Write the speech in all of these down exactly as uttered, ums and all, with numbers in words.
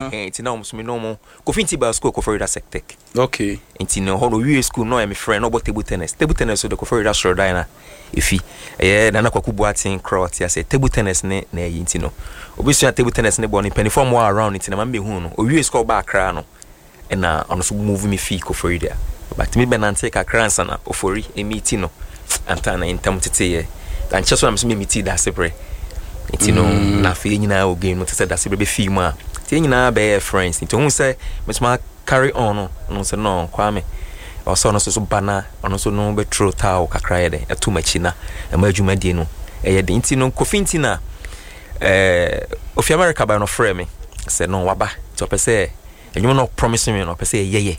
Eh, nti na ɔmo so me ne ɔmo Kofi Nti baa school Koforidua Sectec. Okay. Nti no hɔ no owie school na ɔyɛ me friend na ɔbɔ table tennis. Table tennis so de Koforidua soro dan na efi ɛyɛ Nana Kwaku Boateng korɔ ɔte ase table tennis ne na ɛyi. Nti no obesua table tennis ne bɔ ne mpanimfoɔ mo around, nti na maame behu no owie school ɔba Accra no, ɛna ɔno nso move me fii Koforidua, but me bɛnante kakra ansa na Ofori emi no anta na ntam teteyɛ ankyɛ so na me so me meet Dasebrɛ. Nti no mm. na afei nyinaa wɔ game no te sɛ Dasebrɛ bɛfii mu a, nti yɛn nyinaa bɛyɛ friends. Nti ohun sɛ mesoma carry on no, ɔno sɛ no Kwame ɔsɛ ɔno nso so ba na ɔno nso no bɛturo towel kakra yɛ dɛ ɛto m'akyi na ɛma adwumadie no ɛyɛ den. Nti no Kofi Nti na ɛɛ ofi America ba no frɛ me sɛ no waba, nti ɔpɛ sɛ ɛnwom no promise me no ɔpɛ sɛ ɛyɛyɛ.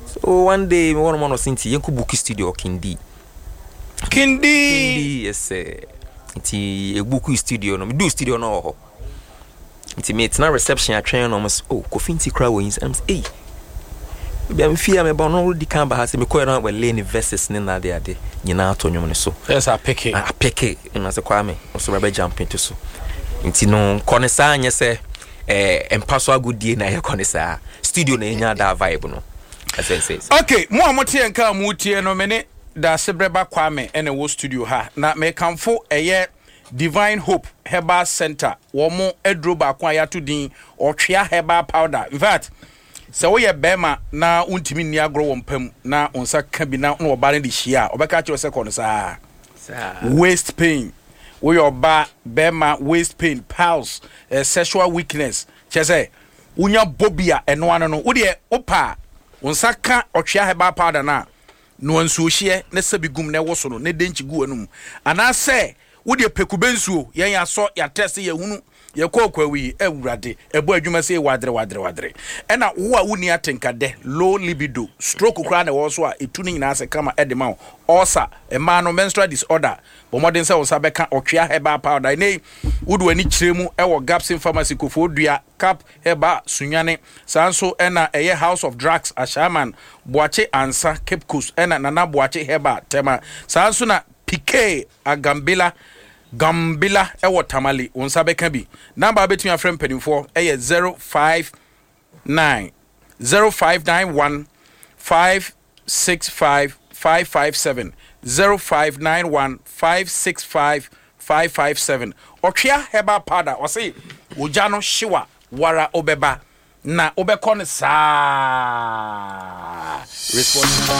So one day me wɔn mo no sɛ nti yɛnkɔ book studio Kindi. Kindi. Kindi, yes. Nti ebook studio no, medu studio no wɔ hɔ, nti metena reception atwɛn no, ɔmo sɛ, "Oh, Kofi Nti kora wɔ yi." Ɛm sɛ, "Ei, bia mfie a meba no di kan ba ha sɛ mekɔɛ no wɔlay ne verses ne nade ade nyinaa ato nnwom no so." Yes, apeke. Apeke na sɛ Kwame nso bɛbɛ jump into so. Nti no nkɔ ne saa nyɛ sɛ ɛɛ mpa so agodie na ɛyɛ ne saa studio na ɛnya that vibe no ɛsɛ sɛ. Okay, mo a mote yɛn ka a motie no, me ne Dasebrɛba Kwame ɛna ɛwɔ studio ha na mekamfo ɛyɛ Divine Hope Herbal Center, wɔn mo aduro baako a yɛato din Ɔtwea Herbal Powder. In fact, sɛ woyɛ bɛrima na wontumi nni agorɔ wɔ mpam na wo nsa ka bi na na ɔbaa no de hyia a, ɔbɛka kyerɛ sɛ kɔ no saa. Waist pain, woyɛ ɔbaa, bɛrima, waist pain, piles, eh, sexual weakness, kyerɛ sɛ wonya bɔ bi a ɛno ano no, wodeɛ wopa a wo nsa ka Ɔtwea Herbal Powder no a, noa nsuohyeɛ na sɛbi gum na ɛwɔ so no na ɛdɛnkyi gu w'anum, anaasɛ wodeɛ pɛkubɛ nsuo. Yɛn yɛasɔ yɛatɛse, yɛhunu yɛkɔ ɔkwawi yi, Awurade ɛbɔ adwuma sɛ wadere wadere wadere. Ɛna wo a wonni atenkadɛ, low libido, stroke koraa na ɛwɔ so a, ɛtu no nyinaa sɛ kama ɛde ma wo. Ɔsa mmaa no menstrual disorder, bɔ mmɔden sɛ wo nsa bɛka Ɔtwea Herbal Powder. Ɛnɛ yi wode w'ani kyerɛ mu ɛwɔ Gapson Pharmacy, Kofoɔ Dua, Cap Herbal Sunyane, saa nso ɛna ɛyɛ House of Drugs Ashaiman, Boakye Ansa Cape Coast, ɛna Nana Boakye Herbal Tema, saa nso na Pk Agambila Gambila ɛwɔ Tamale. Wo nsa bɛka bi. Number a wobɛtumi afrɛ mpanimfoɔ ɛyɛ zero five nine zero five nine one five six five five five seven, zero five nine one five six five five five seven. Ɔtwea Herbal Powder, ɔse ogya no hyewa wara wobɛba na wobɛkɔ no saa. Response.